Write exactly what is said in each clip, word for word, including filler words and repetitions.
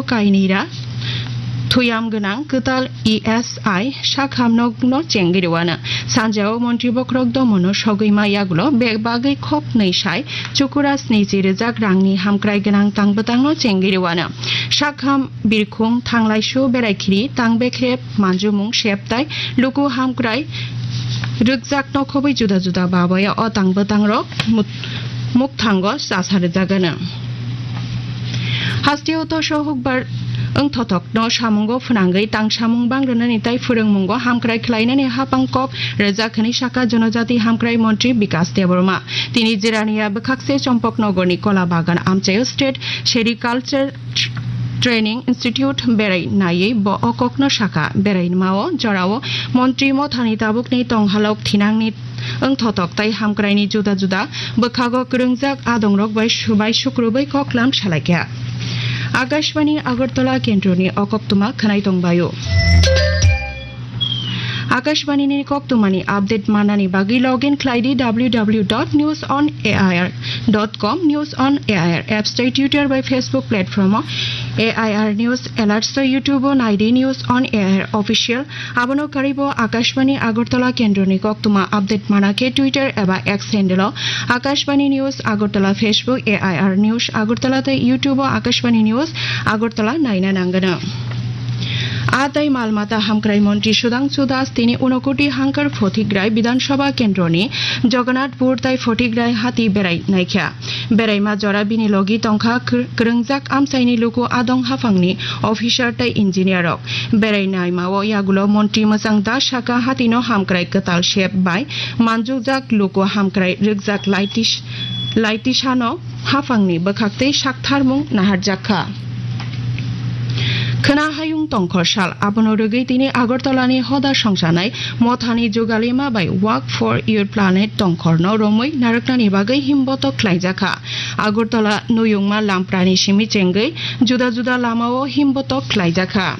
kainwi ra thuyam gwnang kwtal E S I sakham nokno chengwi rwano. Sanjao montri bokhorok domono sogwi ma yagulo bebagwi khoknwi sai chukura snichi rijak rangni hamkrai gwnang tang bwtangno chengwi rwano. Sakham birkhung thanglaisu beraikhiri tang bekhre manjumung sep tai luku hamkrai rwkjakno khobwi juda juda babaya o tang bwtangrok mut-, mukthango chasa rwjagano. Hasteo toso hukbar wngthotokno samungo phwnangwi tang samung bang rwnani tai phwrwngmungo hamkrai khlainani hapang kok rwjak hwnwi saka Jonojati Hamkrai Montri Bikas Debbarma. Tini Jirania bwkhakse Chompoknogorni Kola Bagan amchaio State Sericulture Training Institute berai naiwi bo o kokno saka. Berai mao jorao montri mothani tabukni tonghalok thinangni wngthotok tai hamkraini juda juda bwkhago kwrwngjak adongrok bai subai sukrubwi koklam salaikha. Akashbani Agartala kendroni o koktwma khwnai tongbaio. Akashbani ni koktwmani update manani bagwi login khlai di W W W dot news on A I R dot com, News on A I R apps tei Twitter bai Facebook platform o A I R News Alerts tei YouTube o nai di News on A I R Official. Abono karibo Akashbani Agartala kendroni koktwma update mana khe Twitter eba X handle o Akashbani News Agartala, Facebook A I R News Agartala tei YouTube o Akashbani News Agartala naina nangano. A tai mal mata hamkrai montri Sudhangshu Das tini Unakoti Hangkar Photigrai Bidhan Sabha kendroni Jagannathpur tai Photigrai hati berai naikha. Beraima jora bini logi tongkha kwr-, kwrwngjak amchaini luku adong haphangni officer tai engineer rok. Berai naimao yagulo montri Mwchang Das saka hatino hamkrai kwtal sep bai manjukjak luku hamkrai rwkjak laitis-, laitisano haphangni bwkhaktwi saktharmung naharjakha. Khwna hayung tongkhor sal, abono rwgwi tini Agartalani hoda songsanai mothani Jugalima bai Walk for Your Planet tongkhorno romwi narwknani bagwi himbotok khlaijakha. Agartala Nuyungma Lamprani simi chengwi juda juda lamao himbotok khlaijakha.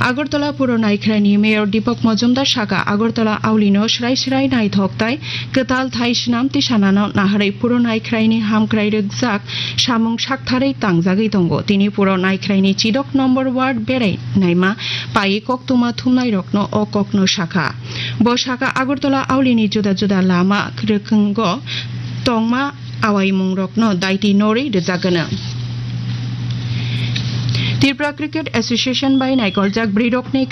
Agartala Puro Naikhraini Mayor Deepak Majumdar saka, Agartala aulino srai srai naithok tai kwtal thai swnam tisanano naharwi Puro Naikhraini hamkrai rwkjak samung saktharwi tangjagwi tongo. Tini Puro Naikhraini chidok number ward berai naima pai koktwma thumnairokno o kokno sakha. Bo saka Agartala aulini juda juda lama rwkwngo tongma awaimungrokno daiti norwi rwjagwno. Tripura Cricket Association bai naikoljak bwrwirokni